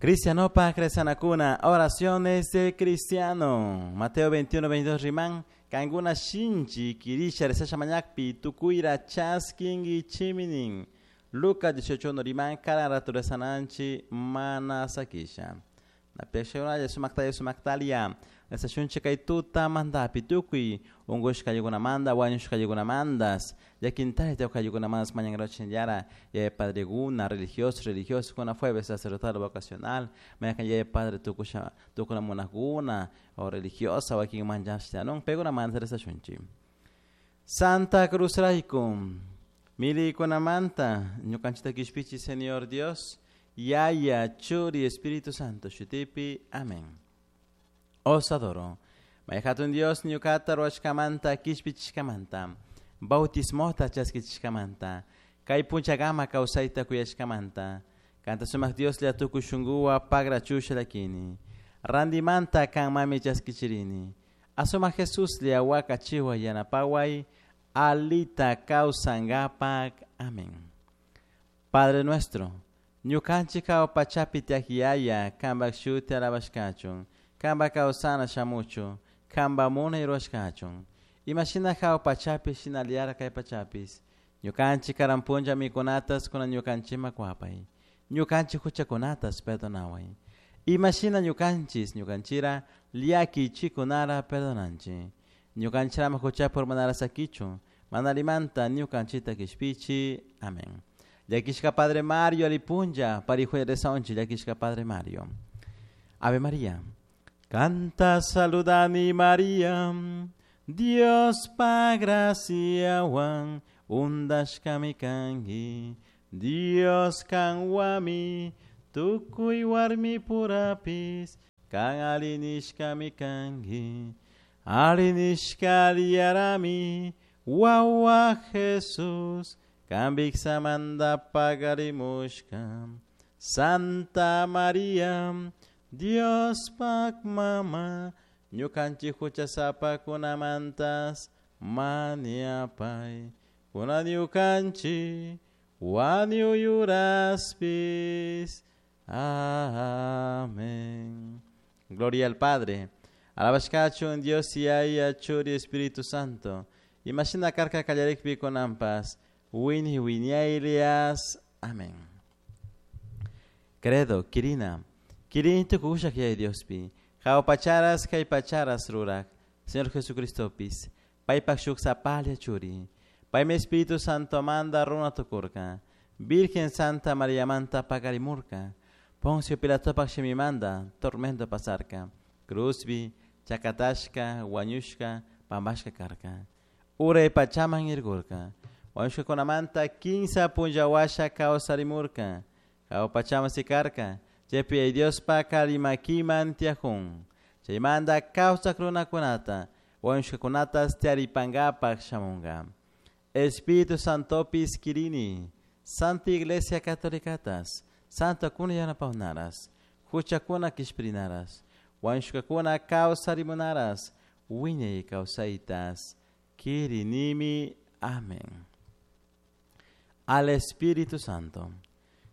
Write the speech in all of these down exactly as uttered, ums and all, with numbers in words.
Cristianopa Cresanacuna, oraciones del cristiano. Mateo veintiuno, veintidós riman, kanguna shinchi kirisha resasha mañakpi tukuira chaskingi chiminin. Lucas dieciocho uno riman, karan ratu resananchi manasakisha. Napiakshayunalla sumaktaya sumaktalia, resashunchi kay tuta mandapi tukuy, ungushka yugunamandas, wañushka yugunamandas, llakintari tawka yugunamandas mañangrochin yara, yaya padreguna, religioso, religioso, kuna jueves sacerdotal vocacional, mañakan yaya padre tukusha, tukuna monajguna, o religiosa, wakin manchashtianun, peguna manda resashunchi. Santa Cruz rayku, milikunamanta, ñukanchita kishpichi Señor Dios, Yaya, Churi, Espíritu Santo, Shutipi, amén. Os adoro. Mayhatun Dios, ñukata ruashkamanta, kishpichishkamanta, bautismota chaskichishkamanta, kay punchagama kawsayta kuyashkamanta, kanta sumak Dios la tukuy shunguwa pagra chusha lakini, randimanta kan mami chaskichirini, asuma Jesús lia waka chiwa yanapaway, alita kawsangapak, amén. Padre nuestro, ñukanchik hawa pachapi tiyak yaya, kanpak shuti alabashkachun, kanpak kawsana shamuchun, kanpak munay rurashkachun. Imashina hawa pachapi shinallara kay pachapis, ñukanchik karan punlla mikunatas kunan ñukanchikman kuwapay, ñukanchik huchakunatas perdonaway. Imashina ñukanchis ñukanchira llakichikunara perdonanchik. Ñukanchirama huchapi urmanara sakichun, manalimanta ñukanchita kishpichi. Amén. Llakishka Padre Mario alipunlla, parijuya resaunchi, llakishka Padre Mario. Ave María. Canta saludani María, Dios pa gracia wan, undashkami kanki, Dios kanwami, tukuy warmi purapis, kan alinishkami kanki, alinishka aliyarami, wawa Jesús, kambiksamanta pagarimushka, Santa María, Dios pak mama, ñukanchik huchasapakunamantas maniapay, kunan ñukanchik wañuyuraspis. Amén. Gloria al Padre. Alabashkachun Dios Yaya Churi Espíritu Santo. Imashina karka kallarikpi kunanpas. Wini wiñaylias. Amén. Credo, Kirina. Kirini tukushak yaya Diospi. Hawa pacharas kay pacharas rurak. Señor Jesucristopis. Paypak shuk sapalla churi. Paymi Espíritu Santo manda runa tukurka. Virgen Santa María manta pagarimurka. Poncio Pilatopak shimimanda tormento pasarka. Cruzbi, chakatashka, wañushka, pambashka karka. Uray pachaman irgurka. Wañushkakunamanta kinsa punllawasha kawsarimurka. Hawa pachaman sikarka. Chaypi Diospa kalimakiman tiyajun. Chaymanta kawsak runakunata, wañushkakunatas tiyaripankapak shamunka. Espíritu Santopis kirini, Santa Iglesia Católicatas, Santa kuna yanapawnaras, huchakuna kishpirinaras, wañushkakuna kawsarimunaras, wiñay kawsaytas, kirinimi. Amén. Al Espíritu Santo.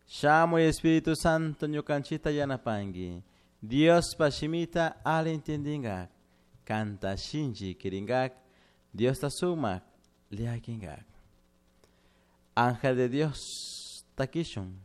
Shamuy Espíritu Santo ñukanchita yanapanki. Dios pashimita al entendingak. Kanta shinchi kiringak. Dios ta sumak liakingak. Ángel de Dios takishun.